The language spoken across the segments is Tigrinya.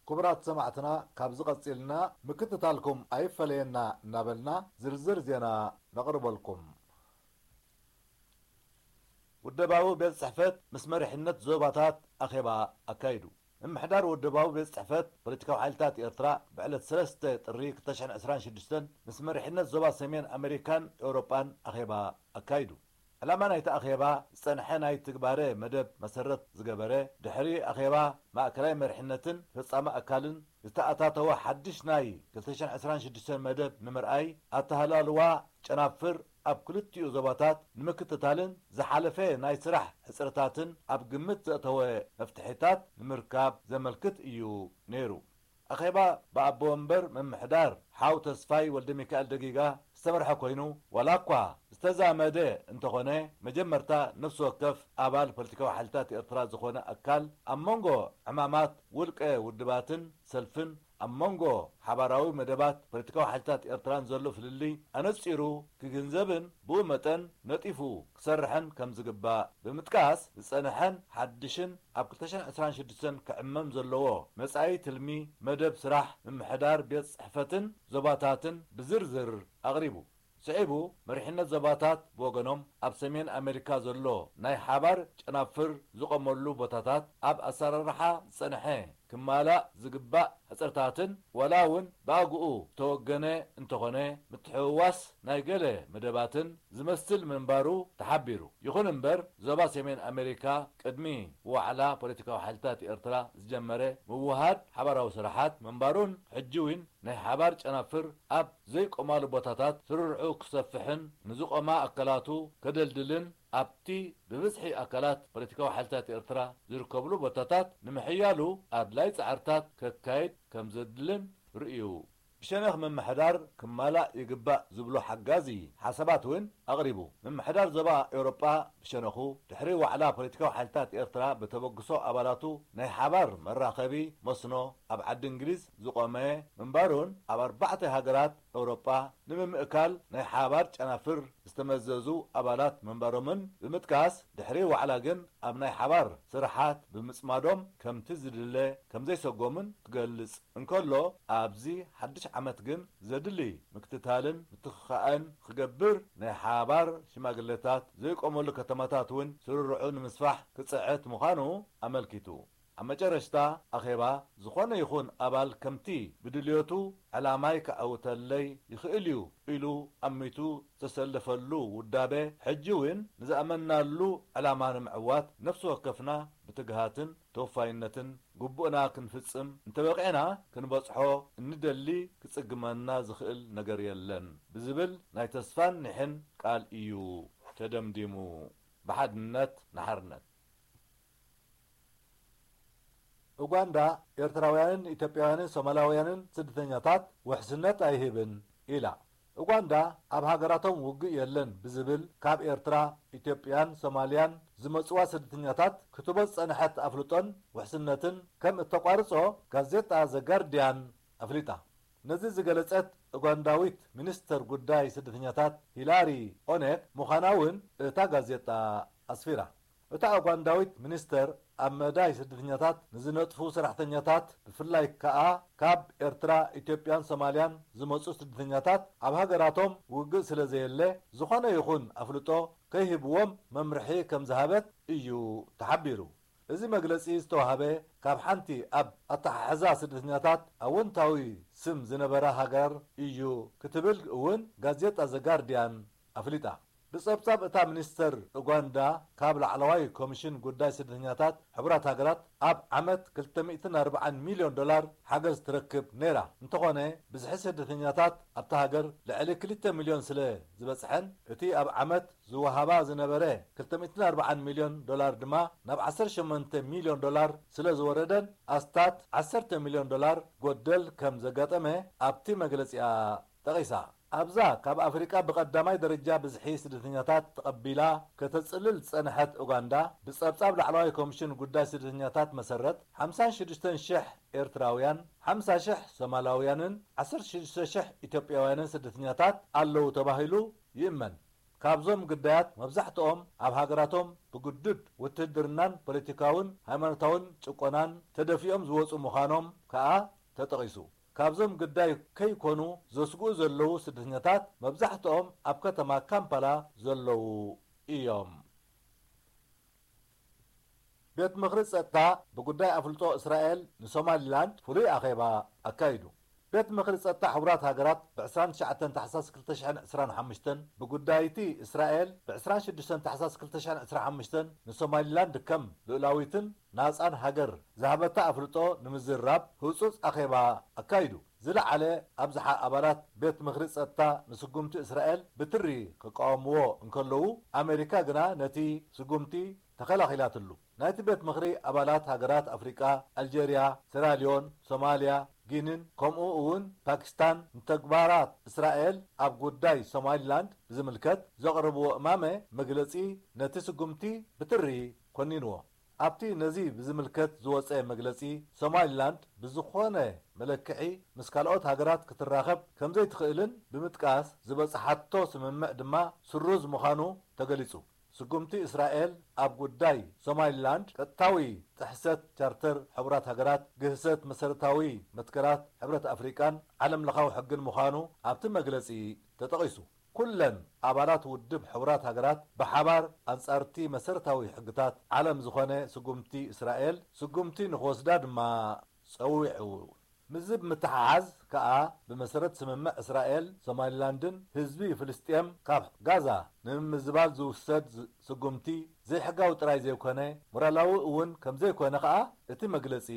ክቡራት ሰማዕትና፣ ካብዚ ቀጺልና ምክትታልኩም ኣይፈለየና እናበልና ዝርዝር ዜና ነቕርበልኩም። ውደባዊ ቤት ጽሕፈት ምስ መሪሕነት ዞባታት ኣኼባ ኣካይዱ። ምምሕዳር ውደባዊ ቤት ጽሕፈት ፖለቲካዊ ሓይልታት ኤርትራ ብዕለት ሰለስተ ጥሪ ክልተ ሽሕን ዕስራን ሽዱሽተን ምስ መሪሕነት ዞባ ሰሜን ኣሜሪካን ኤውሮጳን ኣኼባ ኣካይዱ። ዕላማ ናይቲ ኣኼባ ዝጸንሐ ናይ ትግባረ መደብ መሰረት ዝገበረ፣ ድሕሪ ኣኼባ ማእከላይ መሪሕነትን ፈጻሚ ኣካልን ዝተኣታተወ ሓድሽ ናይ ክልተ ሽሕን ዕስራን ሽዱሽተን መደብ ንምርኣይ፣ ኣተሃላልዋ ጨናፍር ኣብ ክልቲኡ ዞባታት ንምክትታልን ዝሓለፈ ናይ ስራሕ ሕጽርታትን ኣብ ግምት ዘእተወ መፍትሒታት ንምርካብ ዘመልክት እዩ ነይሩ። ኣኼባ ብኣቦ ወንበር ምምሕዳር ሓው ተስፋይ ወልደሚካኤል ደጊጋ ዝተመርሐ ኮይኑ፣ ዋላ እኳ ዝተዛመደ እንተኾነ፣ መጀመርታ ነፍሲ ወከፍ ኣባል ፖለቲካዊ ሓይልታት ኤርትራ ዝኾነ ኣካል ኣብ መንጎ ዕማማት ውልቀ ውድባትን ሰልፍን ኣብ መንጎ ሓባራዊ መደባት ፖለቲካዊ ሓይልታት ኤርትራን ዘሎ ፍልልይ ኣነጺሩ ክግንዘብን ብኡ መጠን ነጢፉ ክሰርሕን ከም ዝግባእ ብምጥቃስ፣ ዝጸንሐን ሓድሽን ኣብ ክልተ ሽሕን ዕስራን ሽዱሽተን ክዕመም ዘለዎ መጻኢ ትልሚ መደብ ስራሕ ምምሕዳር ቤት ጽሕፈትን ዞባታትን ብዝርዝር ኣቕሪቡ። ስዒቡ፣ መሪሕነት ዞባታት ብወገኖም ኣብ ሰሜን ኣሜሪካ ዘሎ ናይ ሓባር ጨናፍር ዝቖመሉ ቦታታት ኣብ ኣሰራርሓ ዝጸንሐ ክማላእ ዝግባእ ሕጽርታትን ዋላ እውን ብኣግኡ ዝተወገነ እንተኾነ ምትሕውዋስ ናይ ገለ መደባትን ዝመስል ምንባሩ ተሓቢሩ። ይኹን እምበር ዞባ ሰሜን ኣሜሪካ ቅድሚ ዋዕላ ፖለቲካዊ ሓይልታት ኤርትራ ዝጀመረ ምውሃድ ሓባራዊ ስራሓት ምንባሩን ሕጂ እውን ናይ ሓባር ጨናፍር ኣብ ዘይቆማሉ ቦታታት ስርርዑ ክሰፍሕን ንዝቆማ ኣካላቱ ከደልድልን ኣብቲ ብብዝሒ ኣካላት ፖለቲካዊ ሓይልታት ኤርትራ ዝርከብሉ ቦታታት ንምሕያሉ ኣድላይ ጻዕርታት ከካይድ ከም ዘድልን ርእዩ። ብሸነኽ ምምሕዳር ክማላእ ይግባእ ዝብሎ ሓጋዚ ሓሳባት እውን ኣቕሪቡ። ምምሕዳር ዞባ ኤውሮጳ ብሸነኹ፣ ድሕሪ ዋዕላ ፖለቲካዊ ሓይልታት ኤርትራ ብተበግሶ ኣባላቱ ናይ ሓባር መራኸቢ መስኖ ኣብ ዓዲ እንግሊዝ ዝቖመ ምንባሩን፣ ኣብ ኣርባዕተ ሃገራት ኤውሮጳ ንምምእካል ናይ ሓባር ጨናፍር ዝተመዘዙ ኣባላት ምንባሮምን ብምጥቃስ፣ ድሕሪ ዋዕላ ግን ኣብ ናይ ሓባር ስራሓት ብምጽማዶም ከምቲ ዝድለ ከምዘይሰጎምን ክገልጽ እንከሎ፣ ኣብዚ ሓድሽ ዓመት ግን ዘድሊ ምክትታልን ምትኽኻእን ክገብር፣ ናይ ሓባር ሽማግለታት ዘይቆመሉ ከተማታት እውን ስርርዑ ንምስፋሕ ክጽዕት ምዃኑ ኣመልኪቱ። ኣብ መጨረሽታ ኣኼባ፣ ዝኾነ ይኹን ኣባል ከምቲ ብድልየቱ ዕላማይ ከዐውተለይ ይኽእል እዩ ኢሉ ኣሚቱ ዝተሰለፈሉ ውዳበ፣ ሕጂ እውን ንዝኣመንናሉ ዕላማ ንምዕዋት ነፍሲ ወከፍና ብትግሃትን ተወፋይነትን ግቡእና ክንፍጽም እንተበቒዕና፣ ክንበጽሖ እንደሊ ክጽግመና ዝኽእል ነገር የለን ብዝብል ናይ ተስፋን ኒሕን ቃል እዩ ተደምዲሙ። ብሓድነት ንሓርነት። ኡጋንዳ፣ ኤርትራውያንን ኢትዮጵያውያንን ሶማላውያንን ስደተኛታት ውሕስነት ኣይህብን ኢላ። ኡጋንዳ፣ ኣብ ሃገራቶም ውግእ የለን ብዝብል ካብ ኤርትራ፣ ኢትዮጵያን ሶማልያን ዝመጽዋ ስደተኛታት ክትቦ ዝጸንሐት ኣፍልጦን ውሕስነትን ከም እተቋርጾ ጋዜጣ ዘ ጋርዲያን ኣፍሊጣ። ነዚ ዝገለጸት ኡጋንዳዊት ሚኒስተር ጉዳይ ስደተኛታት ሂላሪ ኦኔክ ምዃና እውን እታ ጋዜጣ ኣስፊራ። እታ ኡጋንዳዊት ሚኒስተር ኣብ መዳይ ስደተኛታት ንዝነጥፉ ሰራሕተኛታት፣ ብፍላይ ከኣ ካብ ኤርትራ፣ ኢትዮጵያን ሶማልያን ዝመጹ ስደተኛታት ኣብ ሃገራቶም ውግእ ስለ ዘየለ፣ ዝኾነ ይኹን ኣፍልጦ ከይህብዎም መምርሒ ከም ዝሃበት እዩ ተሓቢሩ። እዚ መግለጺ ዝተዋህበ ካብ ሓንቲ ኣብ ኣተሓሕዛ ስደተኛታት ኣወንታዊ ስም ዝነበራ ሃገር እዩ ክትብል እውን ጋዜጣ ዘ ጋርዲያን ኣፍሊጣ። ብጸብጻብ እታ ሚኒስተር ኡጋንዳ፣ ካብ ላዕለዋይ ኮሚሽን ጉዳይ ስደተኛታት ሕቡራት ሃገራት ኣብ ዓመት ክልተ ሚእትን ኣርባዓን ሚልዮን ዶላር ሓገዝ ትረክብ ነይራ። እንተኾነ፣ ብዝሒ ስደተኛታት ኣብታ ሃገር ልዕሊ ክልተ ሚልዮን ስለ ዝበጽሐን፣ እቲ ኣብ ዓመት ዝወሃባ ዝነበረ ክልተ ሚእትን ኣርባዓን ሚልዮን ዶላር ድማ ናብ ዓሰርተ ሸሞንተ ሚልዮን ዶላር ስለ ዝወረደን፣ ኣስታት ዓሰርተ ሚልዮን ዶላር ጎደል ከም ዘጋጠመ ኣብቲ መግለጺኣ ጠቒሳ። ኣብዛ ካብ ኣፍሪቃ ብቐዳማይ ደረጃ ብዝሒ ስደተኛታት ተቐቢላ ከተጽልል ዝጸንሐት ኡጋንዳ፣ ብጸብጻብ ላዕለዋይ ኮሚሽን ጉዳይ ስደተኛታት መሰረት፣ ሓምሳን ሽዱሽተን ሽሕ ኤርትራውያን፣ ሓምሳ ሽሕ ሶማላውያንን ዓሰርተ ሽዱሽተ ሽሕ ኢትዮጵያውያንን ስደተኛታት ኣለዉ ተባሂሉ ይእመን። ካብዞም ግዳያት መብዛሕትኦም ኣብ ሃገራቶም ብግዱድ ውትህድርናን ፖለቲካውን ሃይማኖታውን ጭቆናን ተደፊኦም ዝወጹ ምዃኖም ከኣ ተጠቒሱ። ካብዞም ግዳይ ከይኮኑ ዘስግኡ ዘለዉ ስደተኛታት መብዛሕትኦም ኣብ ከተማ ካምፓላ ዘለዉ እዮም። ቤት ምኽሪ ጸጥታ ብጉዳይ ኣፍልጦ እስራኤል ንሶማሊላንድ ፍሉይ ኣኼባ ኣካይዱ። ቤት ምኽሪ ጸጥታ ሕቡራት ሃገራት ብ ዕስራን ትሽዓተን ታሕሳስ ክልተ ሽሕን ዕስራን ሓሙሽተን ብጉዳይቲ እስራኤል ብ ዕስራን ሽዱሽተን ታሕሳስ ክልተ ሽሕን ዕስራን ሓሙሽተን ንሶማሊላንድ ከም ልኡላዊትን ናጻን ሃገር ዝሃበታ ኣፍልጦ ንምዝራብ ህጹጽ ኣኼባ ኣካይዱ። ዝለዓለ ኣብዝሓ ኣባላት ቤት ምኽሪ ጸጥታ ንስጉምቲ እስራኤል ብትሪ ክቃወምዎ እንከለዉ፣ ኣሜሪካ ግና ነቲ ስጉምቲ ተኸላኺላትሉ። ናይቲ ቤት ምኽሪ ኣባላት ሃገራት ኣፍሪቃ፣ ኣልጀርያ፣ ሴራልዮን፣ ሶማልያ፣ ጊኒን ከምኡ እውን ፓኪስታን ንተግባራት እስራኤል ኣብ ጉዳይ ሶማሊላንድ ብዝምልከት ዘቕረብዎ እማመ መግለጺ ነቲ ስጉምቲ ብትሪ ኮኒንዎ። ኣብቲ ነዚ ብዝምልከት ዝወጸ መግለጺ፣ ሶማሊላንድ ብዝኾነ መለክዒ ምስ ካልኦት ሃገራት ክትራኸብ ከምዘይትኽእልን ብምጥቃስ፣ ዝበጽሓቶ ስምምዕ ድማ ስሩዝ ምዃኑ ተገሊጹ። ስጉምቲ እስራኤል ኣብ ጉዳይ ሶማሊላንድ ቀጥታዊ ጥሕሰት ቻርተር ሕቡራት ሃገራት፣ ግህሰት መሰረታዊ መትከላት ሕብረት ኣፍሪቃን ዓለምለኻዊ ሕግን ምዃኑ ኣብቲ መግለጺ ተጠቒሱ። ኩለን ኣባላት ውድብ ሕቡራት ሃገራት ብሓባር ኣንጻርቲ መሰረታዊ ሕግታት ዓለም ዝኾነ ስጉምቲ እስራኤል ስጉምቲ ንኽወስዳ ድማ ጸዊዑ። ምስዚ ብምትሓሓዝ ከኣ፣ ብመሰረት ስምምዕ እስራኤል፣ ሶማሊላንድን ህዝቢ ፍልስጤም ካብ ጋዛ ንምምዝባል ዝውሰድ ዝ-፣ ስጉምቲ ዘይሕጋዊ ጥራይ ዘይኮነ፣ ሞራላዊ እውን ከም ዘይኮነ ከኣ እቲ መግለጺ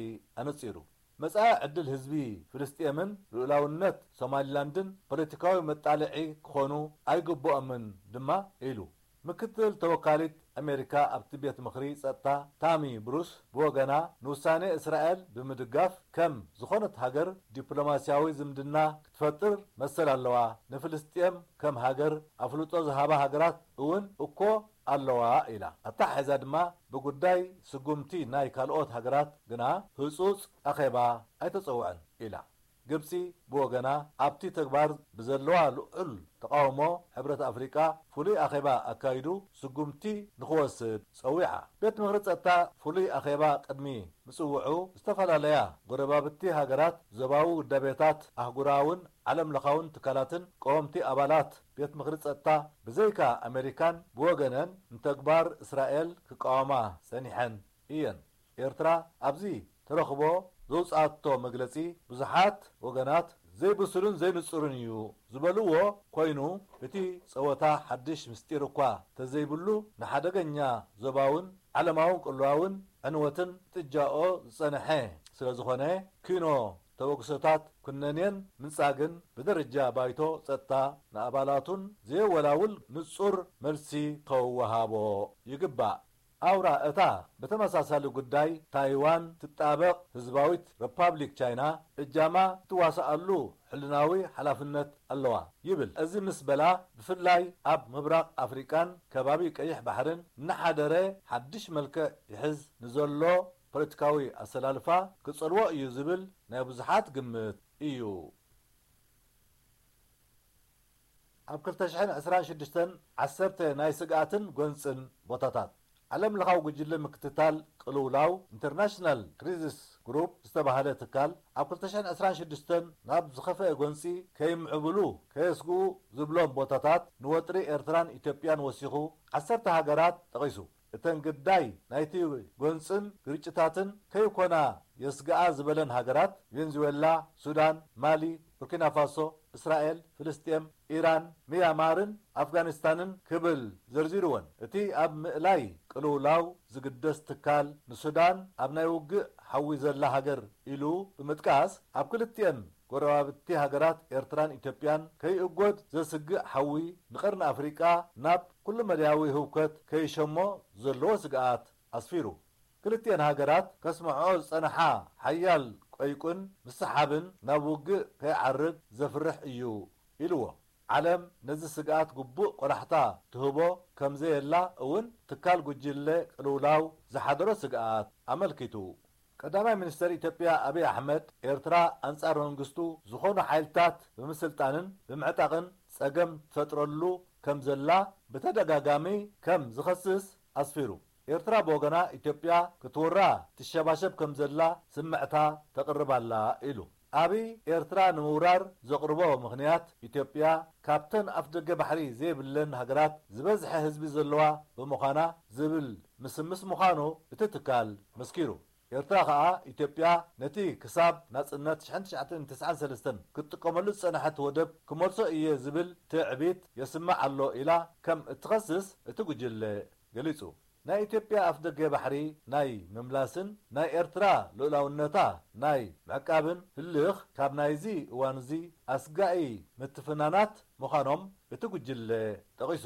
ኣነጺሩ። መጻኢ ዕድል ህዝቢ ፍልስጤምን ልኡላውነት ሶማሊላንድን ፖለቲካዊ መጣልዒ ክኾኑ ኣይግብኦምን ድማ ኢሉ። ምክትል ተወካሊት ኣሜሪካ ኣብቲ ቤት ምኽሪ ጸጥታ ታሚ ብሩስ ብወገና፣ ንውሳኔ እስራኤል ብምድጋፍ፣ ከም ዝኾነት ሃገር ዲፕሎማስያዊ ዝምድና ክትፈጥር መሰል ኣለዋ፣ ንፍልስጤም ከም ሃገር ኣፍልጦ ዝሃባ ሃገራት እውን እኮ ኣለዋ ኢላ። ኣተሓሒዛ ድማ፣ ብጉዳይ ስጉምቲ ናይ ካልኦት ሃገራት ግና ህጹጽ ኣኼባ ኣይተጸውዐን ኢላ። ግብጺ ብወገና፣ ኣብቲ ተግባር ብዘለዋ ልዑል ተቓውሞ፣ ሕብረት ኣፍሪቃ ፍሉይ ኣኼባ ኣካይዱ ስጉምቲ ንኽወስድ ጸዊዓ። ቤት ምኽሪ ጸጥታ ፍሉይ ኣኼባ ቅድሚ ምጽውዑ፣ ዝተፈላለያ ጎረባብቲ ሃገራት ዞባዊ ውዳቤታት፣ ኣህጉራውን ዓለምለኻውን ትካላትን ቀወምቲ ኣባላት ቤት ምኽሪ ጸጥታ፣ ብዘይካ ኣሜሪካን ብወገነን፣ ንተግባር እስራኤል ክቃወማ ጸኒሐን እየን። ኤርትራ ኣብዚ ተረኽቦ ዘውጽኣቶ መግለጺ፣ ብዙሓት ወገናት ዘይብሱልን ዘይንጹርን እዩ ዝበልዎ ኮይኑ፣ እቲ ጸወታ ሓድሽ ምስጢር እኳ ተዘይብሉ፣ ንሓደገኛ ዞባውን ዓለማውን ቅልውላውን ዕንወትን ጥጃኦ ዝጸንሐ ስለ ዝኾነ፣ ኪኖ ተበግሶታት ኩነኔን ምንጻግን ብደረጃ ባይቶ ጸጥታ ንኣባላቱን ዘየወላውል ንጹር መልሲ ከወሃቦ ይግባእ። ኣውራ እታ ብተመሳሳሊ ጉዳይ ታይዋን ትጣበቕ ህዝባዊት ሪፓብሊክ ቻይና እጃማ ትዋስኣሉ ሕልናዊ ሓላፍነት ኣለዋ ይብል። እዚ ምስ በላ፣ ብፍላይ ኣብ ምብራቕ ኣፍሪቃን ከባቢ ቀይሕ ባሕርን እናሓደረ ሓድሽ መልክዕ ይሕዝ ንዘሎ ፖለቲካዊ ኣሰላልፋ ክጸልዎ እዩ ዝብል ናይ ብዙሓት ግምት እዩ። ኣብ ክልተ ሽሕን ዕስራን ሽዱሽተን ዓሰርተ ናይ ስግኣትን ጎንጽን ቦታታት። ዓለም ለኻዊ ጉጅለ ምክትታል ቅልውላው፣ ኢንተርናሽናል ክሪዚስ ግሩፕ ዝተባህለ ትካል፣ ኣብ ክልተ ሽሕን ዕስራን ሽዱሽተን ናብ ዝኸፍአ ጎንጺ ከይምዕብሉ ከየስግኡ ዝብሎም ቦታታት ንወጥሪ ኤርትራን ኢትዮጵያን ወሲኹ ዓሰርተ ሃገራት ጠቒሱ። እተን ግዳይ ናይቲ ጎንጽን ግርጭታትን ከይኮና የስግኣ ዝበለን ሃገራት፣ ቬንዙዌላ፣ ሱዳን፣ ማሊ፣ ቡርኪና ፋሶ፣ እስራኤል፣ ፍልስጤም፣ ኢራን፣ ሚያማርን ኣፍጋኒስታንን ክብል ዘርዚሩወን። እቲ ኣብ ምእላይ ቅልውላው ዝግደስ ትካል፣ ንሱዳን ኣብ ናይ ውግእ ሓዊ ዘላ ሃገር ኢሉ ብምጥቃስ፣ ኣብ ክልቲኤን ጎረባብቲ ሃገራት ኤርትራን ኢትዮጵያን ከይእጎድ ዘስግእ ሓዊ፣ ንቀርኒ ኣፍሪቃ ናብ ኩሉ መዳያዊ ህውከት ከይሸሞ ዘለዎ ስግኣት ኣስፊሩ። ክልቲኤን ሃገራት ከስምዖ ዝጸንሓ ሓያል ቀይቁን ምስሓብን ናብ ውግእ ከይዓርግ ዘፍርሕ እዩ ኢልዎ። ዓለም ነዚ ስግኣት ግቡእ ቆላሕታ ትህቦ ከም ዘየላ እውን ትካል ጉጅለ ቅልውላው ዝሓደሮ ስግኣት ኣመልኪቱ። ቀዳማይ ሚኒስተር ኢትዮጵያ ኣብይ ኣሕመድ፣ ኤርትራ ኣንጻር መንግስቱ ዝኾኑ ሓይልታት ብምስልጣንን ብምዕጣቕን ጸገም ትፈጥረሉ ከም ዘላ ብተደጋጋሚ ከም ዝኸስስ ኣስፊሩ። ኤርትራ ብወገና ኢትዮጵያ ክትወራ ትሸባሸብ ከም ዘላ ስምዕታ ተቕርብ ኣላ ኢሉ። ኣብይ ኤርትራ ንምውራር ዘቕርቦ ምኽንያት ኢትዮጵያ ካብተን ኣፍደገ ባሕሪ ዘይብለን ሃገራት ዝበዝሐ ህዝቢ ዘለዋ ብምዃና ዝብል ምስምስ ምዃኑ እቲ ትካል መስኪሩ። ኤርትራ ከኣ ኢትዮጵያ ነቲ ክሳብ ናጽነት ሽሕን ትሽዓተን ተስዓን ሰለስተን ክትጥቀመሉ ዝጸንሐት ወደብ ክመልሶ እየ ዝብል ትዕቢት የስምዕ ኣሎ ኢላ ከም እትኸስስ እቲ ጉጅለ ገሊጹ። ናይ ኢትዮጵያ ኣፍደገ ባሕሪ ናይ ምምላስን ናይ ኤርትራ ልኡላውነታ ናይ ምዕቃብን ህልኽ ካብ ናይዚ እዋንዚ ኣስጋኢ ምትፍናናት ምዃኖም እቲ ጉጅለ ጠቒሱ።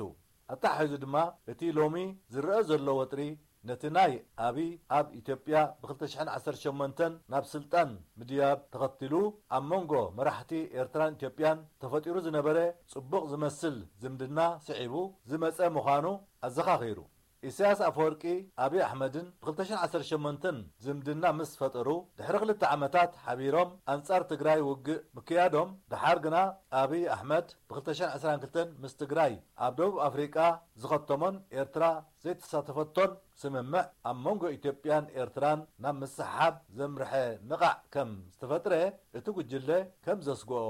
ኣተሓሒዙ ድማ እቲ ሎሚ ዝረኣ ዘሎ ወጥሪ ነቲ ናይ ኣብይ ኣብ ኢትዮጵያ ብ ክልተ ሽሕን ዓሰርተ ሸሞንተን ናብ ስልጣን ምድያብ ተኸቲሉ ኣብ መንጎ መራሕቲ ኤርትራን ኢትዮጵያን ተፈጢሩ ዝነበረ ጽቡቕ ዝመስል ዝምድና ስዒቡ ዝመጸ ምዃኑ ኣዘኻኺሩ። ኢሳያስ ኣፈወርቂ ኣብይ ኣሕመድን ብ ክልተ ሽሕን ዓሰርተ ሸሞንተን ዝምድና ምስ ፈጠሩ ድሕሪ ክልተ ዓመታት ሓቢሮም ኣንጻር ትግራይ ውግእ ምክያዶም፣ ደሓር ግና ኣብይ ኣሕመድ ብ ክልተ ሽሕን ዕስራን ክልተን ምስ ትግራይ ኣብ ደቡብ ኣፍሪቃ ዝኸተሞን ኤርትራ ዘይተሳተፈቶን ስምምዕ ኣብ መንጎ ኢትዮጵያን ኤርትራን ናብ ምስሕሓብ ዘምርሐ ንቓዕ ከም ዝተፈጥረ እቲ ጉጅለ ከም ዘስግኦ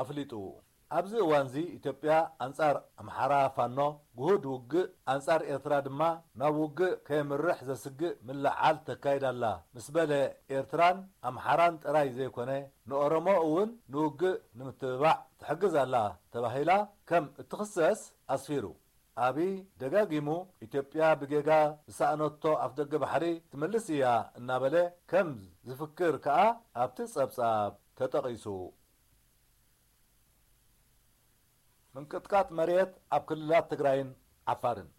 ኣፍሊጡ። ኣብዚ እዋንዚ ኢትዮጵያ ኣንጻር ኣምሓራ ፋኖ ግሁድ ውግእ፣ ኣንጻር ኤርትራ ድማ ናብ ውግእ ከየምርሕ ዘስግእ ምልዕዓል ተካይድ ኣላ ምስ በለ፣ ኤርትራን ኣምሓራን ጥራይ ዘይኮነ ንኦሮሞ እውን ንውግእ ንምትብባዕ ትሕግዝ ኣላ ተባሂላ ከም እትኽሰስ ኣስፊሩ። ኣብይ ደጋጊሙ ኢትዮጵያ ብጌጋ ዝሰኣነቶ ኣፍደገ ባሕሪ ትምልስ እያ እናበለ ከም ዝፍክር ከኣ ኣብቲ ጸብጻብ ተጠቒሱ። ምንቅጥቃጥ መሬት ኣብ ክልላት ትግራይን ዓፋርን።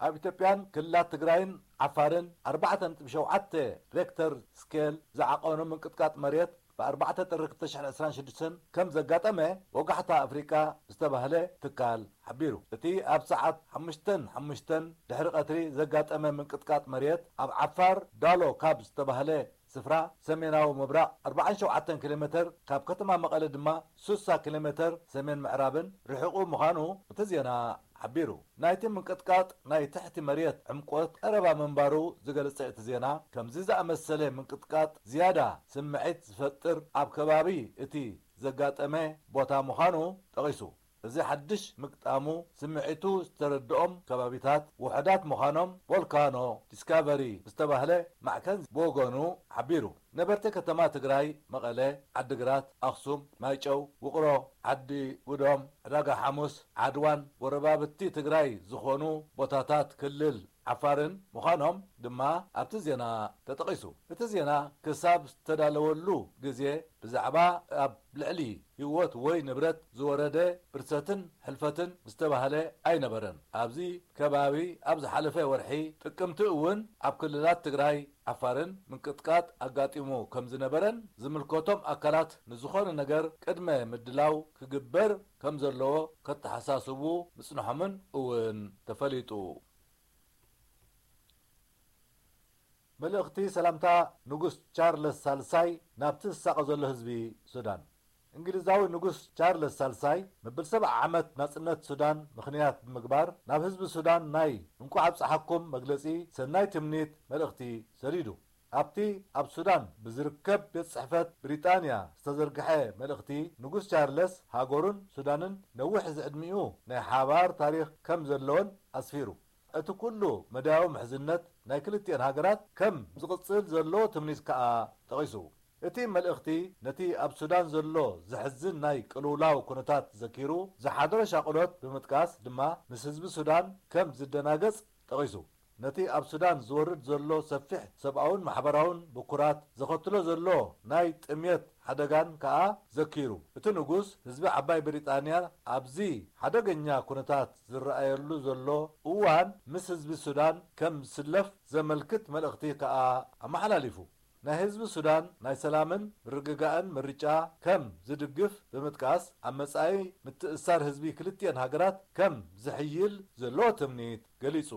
ኣብ ኢትዮጵያን ክልላት ትግራይን ዓፋርን ኣርባዕተ ነጥቢ ሸውዓተ ሬክተር ስኬል ዝዓቐኑ ምንቅጥቃጥ መሬት ብ ኣርባዕተ ጥሪ ክልተ ሽሕን ዕስራን ሽዱሽተን ከም ዘጋጠመ ወጋሕታ ኣፍሪቃ ዝተባህለ ትካል ሓቢሩ። እቲ ኣብ ሰዓት ሓሙሽተን ሓሙሽተን ድሕሪ ቀትሪ ዘጋጠመ ምንቅጥቃጥ መሬት ኣብ ዓፋር ዳሎ ካብ ዝተባህለ ስፍራ ሰሜናዊ ምብራቕ ኣርባዓን ሸውዓተን ኪሎ ሜተር፣ ካብ ከተማ መቐለ ድማ ስሳ ኪሎ ሜተር ሰሜን ምዕራብን ርሒቑ ምዃኑ እቲ ዜና ሓቢሩ። ናይቲ ምንቅጥቃጥ ናይ ትሕቲ መሬት ዕምቆት ቀረባ ምንባሩ ዝገለጸ እቲ ዜና፣ ከምዚ ዝኣመሰለ ምንቅጥቃጥ ዝያዳ ስምዒት ዝፈጥር ኣብ ከባቢ እቲ ዘጋጠመ ቦታ ምዃኑ ጠቒሱ። እዚ ሓድሽ ምግጣሙ ስምዒቱ ዝተረድኦም ከባቢታት ውሑዳት ምዃኖም ቮልካኖ ዲስካቨሪ ዝተባህለ ማዕከን ብወገኑ ሓቢሩ። ነበርቲ ከተማ ትግራይ መቐለ፣ ዓዲግራት፣ ኣኽሱም፣ ማይጨው፣ ውቕሮ፣ ዓዲ ጉዶም፣ ዕዳጋ ሓሙስ፣ ዓድዋን ጎረባብቲ ትግራይ ዝኾኑ ቦታታት ክልል ዓፋርን ምዃኖም ድማ ኣብቲ ዜና ተጠቒሱ። እቲ ዜና ክሳብ ዝተዳለወሉ ግዜ ብዛዕባ ኣብ ልዕሊ ህይወት ወይ ንብረት ዝወረደ ብርሰትን ሕልፈትን ዝተባህለ ኣይነበረን። ኣብዚ ከባቢ ኣብ ዝሓለፈ ወርሒ ጥቅምቲ እውን ኣብ ክልላት ትግራይ ዓፋርን ምንቅጥቃጥ ኣጋጢሙ ከም ዝነበረን ዝምልከቶም ኣካላት ንዝኾነ ነገር ቅድመ ምድላው ክግበር ከም ዘለዎ ከተሓሳስቡ ምጽንሖምን እውን ተፈሊጡ። መልእኽቲ ሰላምታ ንጉስ ቻርለስ ሳልሳይ ናብቲ ዝሳቐ ዘሎ ህዝቢ ሱዳን። እንግሊዛዊ ንጉስ ቻርለስ ሳልሳይ መብል ሰብዓ ዓመት ናጽነት ሱዳን ምኽንያት ብምግባር ናብ ህዝቢ ሱዳን ናይ እንቋዕ ኣብጽሓኩም መግለጺ ሰናይ ትምኒት መልእኽቲ ሰዲዱ። ኣብቲ ኣብ ሱዳን ብዝርከብ ቤት ጽሕፈት ብሪጣንያ ዝተዘርግሐ መልእኽቲ፣ ንጉስ ቻርለስ ሃገሩን ሱዳንን ነዊሕ ዝዕድሚኡ ናይ ሓባር ታሪኽ ከም ዘለወን ኣስፊሩ። እቲ ኩሉ መዳያዊ ምሕዝነት ናይ ክልቲኤን ሃገራት ከም ዝቕጽል ዘለዎ ትምኒት ከኣ ጠቒሱ። እቲ መልእኽቲ ነቲ ኣብ ሱዳን ዘሎ ዘሕዝን ናይ ቅልውላው ኩነታት ዘኪሩ ዝሓደሮ ሻቕሎት ብምጥቃስ ድማ ምስ ህዝቢ ሱዳን ከም ዝደናገጽ ጠቒሱ። ነቲ ኣብ ሱዳን ዝወርድ ዘሎ ሰፊሕ ሰብኣውን ማሕበራውን ብኩራት ዘኸትሎ ዘሎ ናይ ጥምየት ሓደጋን ከኣ ዘኪሩ። እቲ ንጉስ ህዝቢ ዓባይ ብሪጣንያ ኣብዚ ሓደገኛ ኩነታት ዝረኣየሉ ዘሎ እዋን ምስ ህዝቢ ሱዳን ከም ዝስለፍ ዘመልክት መልእኽቲ ከኣ ኣመሓላሊፉ። ናይ ህዝቢ ሱዳን ናይ ሰላምን ምርግጋእን ምርጫ ከም ዝድግፍ ብምጥቃስ፣ ኣብ መጻኢ ምትእስሳር ህዝቢ ክልቲኤን ሃገራት ከም ዝሕይል ዘለዎ ትምኒት ገሊጹ።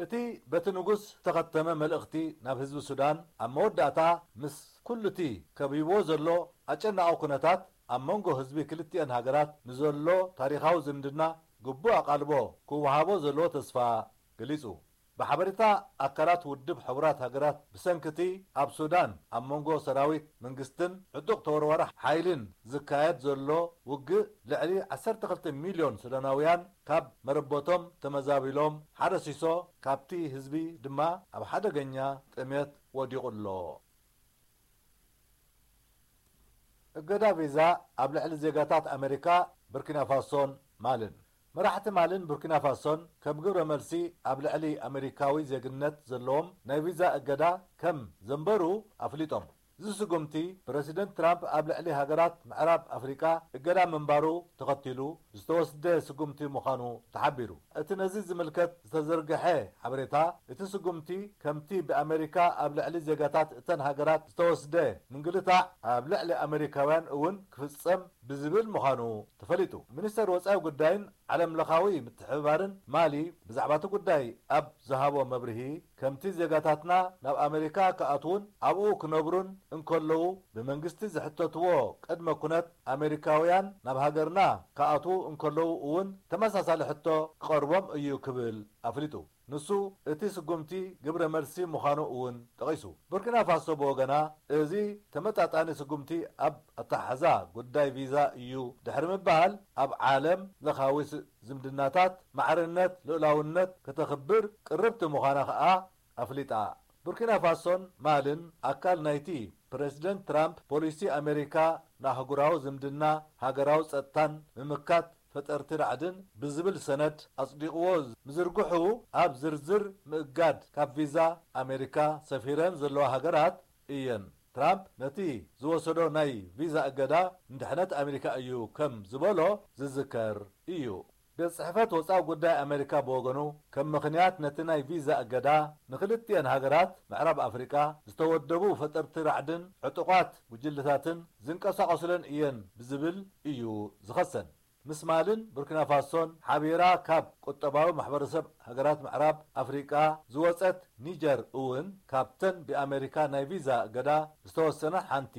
እቲ በቲ ንጉስ ዝተኸተመ መልእኽቲ ናብ ህዝቢ ሱዳን ኣብ መወዳእታ ምስ ኩሉቲ ከቢብዎ ዘሎ ኣጨናቒ ኩነታት ኣብ መንጎ ህዝቢ ክልቲኤን ሃገራት ንዘሎ ታሪኻዊ ዝምድና ግቡእ ኣቓልቦ ክወሃቦ ዘለዎ ተስፋ ገሊጹ። ብሓበሬታ ኣካላት ውድብ ሕቡራት ሃገራት፣ ብሰንኪ እቲ ኣብ ሱዳን ኣብ መንጎ ሰራዊት መንግስትን ዕጡቕ ተወርዋሪ ሓይልን ዝካየድ ዘሎ ውግእ፣ ልዕሊ ዓሰርተ ክልተ ሚልዮን ሱዳናውያን ካብ መረበቶም ተመዛቢሎም፣ ሓደ ሲሶ ካብቲ ህዝቢ ድማ ኣብ ሓደገኛ ጥሜት ወዲቑ ኣሎ። እገዳ ቪዛ ኣብ ልዕሊ ዜጋታት ኣመሪካ፣ ቡርኪና ፋሶን ማልን። መራሕቲ ማልን ቡርኪና ፋሶን፣ ከም ግብረ መልሲ ኣብ ልዕሊ ኣመሪካዊ ዜግነት ዘለዎም ናይ ቪዛ እገዳ ከም ዘንበሩ ኣፍሊጦም። እዚ ስጉምቲ፣ ፕረሲደንት ትራምፕ ኣብ ልዕሊ ሃገራት ምዕራብ ኣፍሪቃ እገዳ ምንባሩ ተኸቲሉ ዝተወስደ ስጉምቲ ምዃኑ ተሓቢሩ። እቲ ነዚ ዝምልከት ዝተዘርግሐ ሓበሬታ፣ እቲ ስጉምቲ ከምቲ ብኣመሪካ ኣብ ልዕሊ ዜጋታት እተን ሃገራት ዝተወስደ ምንግልታዕ ኣብ ልዕሊ ኣመሪካውያን እውን ክፍጸም ብዝብል ምዃኑ ተፈሊጡ። ሚኒስተር ወጻኢ ጉዳይን ዓለም ለኻዊ ምትሕብባርን ማሊ ብዛዕባ እቲ ጉዳይ ኣብ ዝሃቦ መብርሂ፣ ከምቲ ዜጋታትና ናብ ኣመሪካ ክኣትዉን ኣብኡ ክነብሩን እንከለዉ ብመንግስቲ ዝሕተትዎ ቅድመ ኩነት፣ ኣመሪካውያን ናብ ሃገርና ክኣትዉ እንከለዉ እውን ተመሳሳሊ ሕቶ ክቐርቦም እዩ ክብል ኣፍሊጡ። ንሱ፣ እቲ ስጉምቲ ግብረ መልሲ ምዃኑ እውን ጠቒሱ። ቡርኪና ፋሶ ብወገና፣ እዚ ተመጣጣኒ ስጉምቲ ኣብ ኣተሓሕዛ ጉዳይ ቪዛ እዩ ድሕሪ ምባል፣ ኣብ ዓለም ለኻዊ ስ-፣ ዝምድናታት ማዕርነት ልኡላውነት ከተኽብር ቅርብቲ ምዃና ከኣ ኣፍሊጣ። ቡርኪና ፋሶን ማልን ኣካል ናይቲ ፕረሲደንት ትራምፕ ፖሊሲ ኣመሪካ ንኣህጉራዊ ዝምድና፣ ሃገራዊ ጸጥታን ምምካት ፈጠርቲ ራዕድን ብዝብል ሰነድ ኣጽዲቕዎ ምዝርግሑ፣ ኣብ ዝርዝር ምእጋድ ካብ ቪዛ ኣመሪካ ሰፊረን ዘለዋ ሃገራት እየን። ትራምፕ ነቲ ዝወሰዶ ናይ ቪዛ እገዳ ንድሕነት ኣመሪካ እዩ ከም ዝበሎ ዝዝከር እዩ። ቤት ጽሕፈት ወጻኢ ጉዳይ ኣመሪካ ብወገኑ፣ ከም ምኽንያት ነቲ ናይ ቪዛ እገዳ፣ ንኽልቲኤን ሃገራት ምዕራብ ኣፍሪቃ ዝተወደቡ ፈጠርቲ ራዕድን ዕጡቓት ጉጅለታትን ዝንቀሳቐሱለን እየን ብዝብል እዩ ዝኸሰን። ምስ ማልን ቡርኪና ፋሶን ሓቢራ ካብ ቁጠባዊ ማሕበረሰብ ሃገራት ምዕራብ ኣፍሪቃ ዝወጸት ኒጀር እውን ካብተን ብኣመሪካ ናይ ቪዛ እገዳ ዝተወሰና ሓንቲ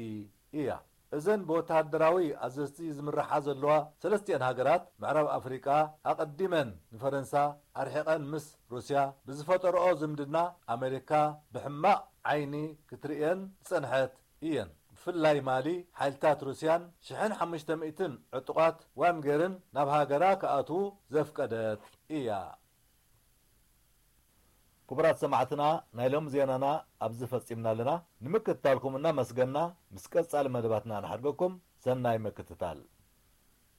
እያ። እዘን ብወተሃደራዊ ኣዘዝቲ ዝምርሓ ዘለዋ ሰለስቲኤን ሃገራት ምዕራብ ኣፍሪቃ፣ ኣቐዲመን ንፈረንሳ ኣርሒቐን ምስ ሩስያ ብዝፈጠርኦ ዝምድና፣ ኣመሪካ ብሕማቕ ዓይኒ ክትርእየን ዝጸንሐት እየን። ብፍላይ ማሊ፣ ሓይልታት ሩስያን ሽሕን ሓሙሽተ ሚእትን ዕጡቓት ዋግነርን ናብ ሃገራ ክኣትዉ ዘፍቀደት እያ። ክቡራት ሰማዕትና፣ ናይ ሎሚ ዜናና ኣብዚ ፈጺምና ኣለና። ንምክትታልኩም እናመስገና፣ ምስ ቀጻሊ መደባትና ንሓድገኩም። ሰናይ ምክትታል።